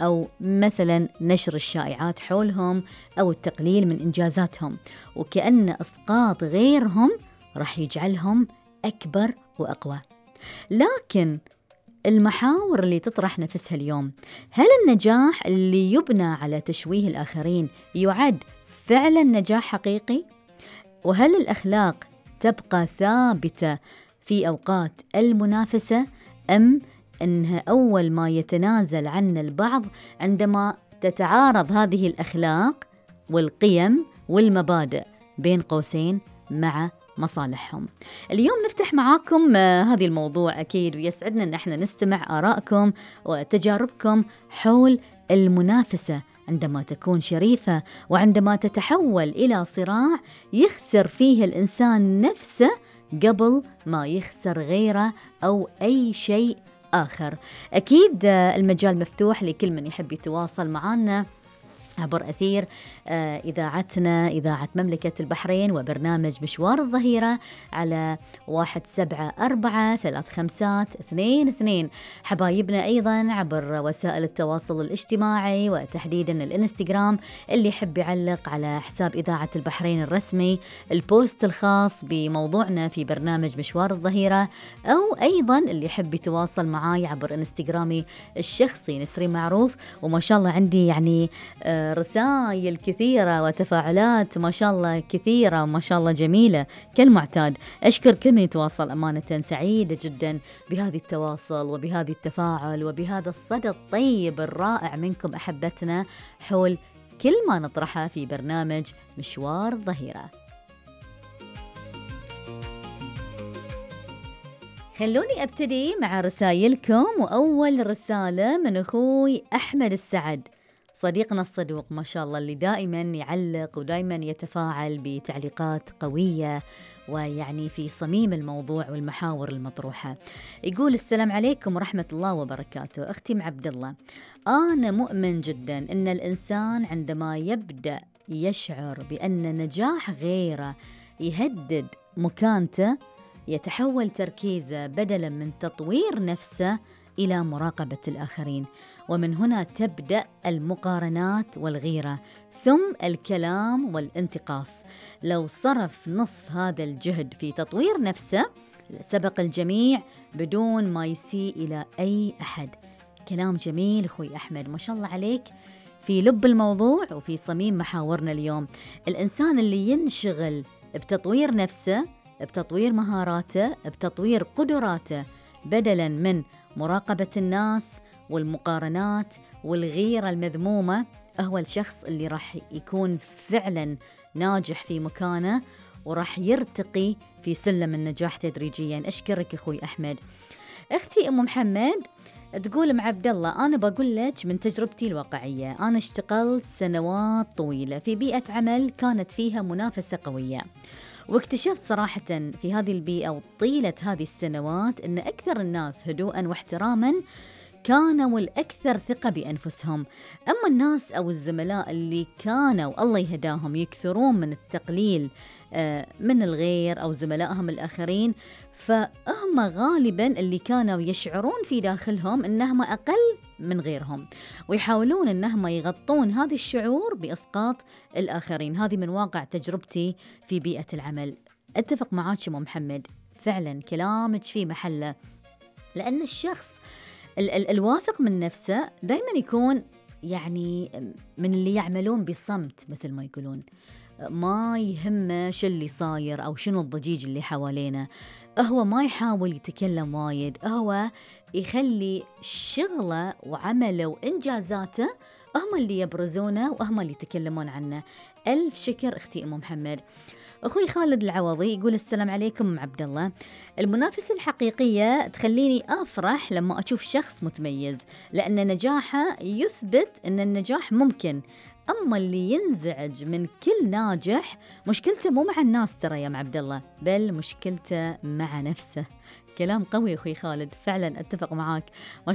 أو مثلا نشر الشائعات حولهم أو التقليل من إنجازاتهم، وكأن إسقاط غيرهم راح يجعلهم أكبر وأقوى. لكن المحاور اللي تطرح نفسها اليوم، هل النجاح اللي يبنى على تشويه الآخرين يعد فعلا نجاح حقيقي؟ وهل الأخلاق تبقى ثابتة في أوقات المنافسة، أم أنها أول ما يتنازل عن البعض عندما تتعارض هذه الأخلاق والقيم والمبادئ بين قوسين مع مصالحهم؟ اليوم نفتح معاكم هذه الموضوع أكيد، ويسعدنا أن احنا نستمع آرائكم وتجاربكم حول المنافسة عندما تكون شريفة، وعندما تتحول إلى صراع يخسر فيه الإنسان نفسه قبل ما يخسر غيره أو أي شيء آخر. أكيد المجال مفتوح لكل من يحب يتواصل معنا عبر أثير إذاعتنا، إذاعة مملكة البحرين، وبرنامج مشوار الظهيرة على 174-35-22. حبايبنا أيضا عبر وسائل التواصل الاجتماعي، وتحديدا الإنستغرام، اللي يحب يعلق على حساب إذاعة البحرين الرسمي البوست الخاص بموضوعنا في برنامج مشوار الظهيرة، أو أيضا اللي يحب يتواصل معي عبر إنستغرامي الشخصي نسرين معروف. وما شاء الله عندي يعني رسائل كثيرة وتفاعلات ما شاء الله كثيرة وما شاء الله جميلة كالمعتاد. أشكر كل من يتواصل، أمانة سعيدة جدا بهذه التواصل وبهذه التفاعل وبهذا الصدى الطيب الرائع منكم أحبتنا حول كل ما نطرحه في برنامج مشوار الظهيرة. خلوني أبتدي مع رسائلكم، وأول رسالة من أخوي أحمد السعد، صديقنا الصدوق ما شاء الله، اللي دائما يعلق ودائما يتفاعل بتعليقات قوية ويعني في صميم الموضوع والمحاور المطروحة. يقول: السلام عليكم ورحمة الله وبركاته. أختي عبد الله، أنا مؤمن جدا أن الإنسان عندما يبدأ يشعر بأن نجاح غيره يهدد مكانته، يتحول تركيزه بدلا من تطوير نفسه إلى مراقبة الآخرين، ومن هنا تبدأ المقارنات والغيرة، ثم الكلام والانتقاص. لو صرف نصف هذا الجهد في تطوير نفسه سبق الجميع بدون ما يسيء إلى أي أحد. كلام جميل أخوي أحمد، ما شاء الله عليك في لب الموضوع وفي صميم محاورنا اليوم. الإنسان اللي ينشغل بتطوير نفسه، بتطوير مهاراته، بتطوير قدراته، بدلاً من مراقبة الناس والمقارنات والغيرة المذمومة، هو الشخص اللي راح يكون فعلاً ناجح في مكانه وراح يرتقي في سلم النجاح تدريجياً. أشكرك أخوي أحمد. أختي أم محمد تقول: مع عبد الله، أنا بقول لك من تجربتي الواقعية، أنا اشتغلت سنوات طويلة في بيئة عمل كانت فيها منافسة قوية، واكتشفت صراحة في هذه البيئة وطيلة هذه السنوات أن أكثر الناس هدوءاً واحتراماً كانوا الأكثر ثقة بأنفسهم. أما الناس أو الزملاء اللي كانوا الله يهداهم يكثرون من التقليل من الغير أو زملائهم الآخرين، فهم غالباً اللي كانوا يشعرون في داخلهم أنهم أقل من غيرهم، ويحاولون أنهم يغطون هذا الشعور بإسقاط الآخرين. هذه من واقع تجربتي في بيئة العمل. أتفق معاك أم محمد، فعلاً كلامك في محله، لأن الشخص الواثق من نفسه دايماً يكون يعني من اللي يعملون بصمت، مثل ما يقولون، ما يهمه شو اللي صاير أو شنو الضجيج اللي حوالينا. هو ما يحاول يتكلم وايد، هو يخلي شغله وعمله وإنجازاته هم اللي يبرزونه وهم اللي يتكلمون عنه. ألف شكر أختي أم محمد. أخوي خالد العوضي يقول: السلام عليكم عبد الله، المنافسة الحقيقية تخليني أفرح لما أشوف شخص متميز، لأن نجاحه يثبت أن النجاح ممكن. أما اللي ينزعج من كل ناجح مشكلته مو مع الناس ترى يا عبد الله، بل مشكلته مع نفسه. كلام قوي أخوي خالد، فعلا أتفق معاك. ما شاء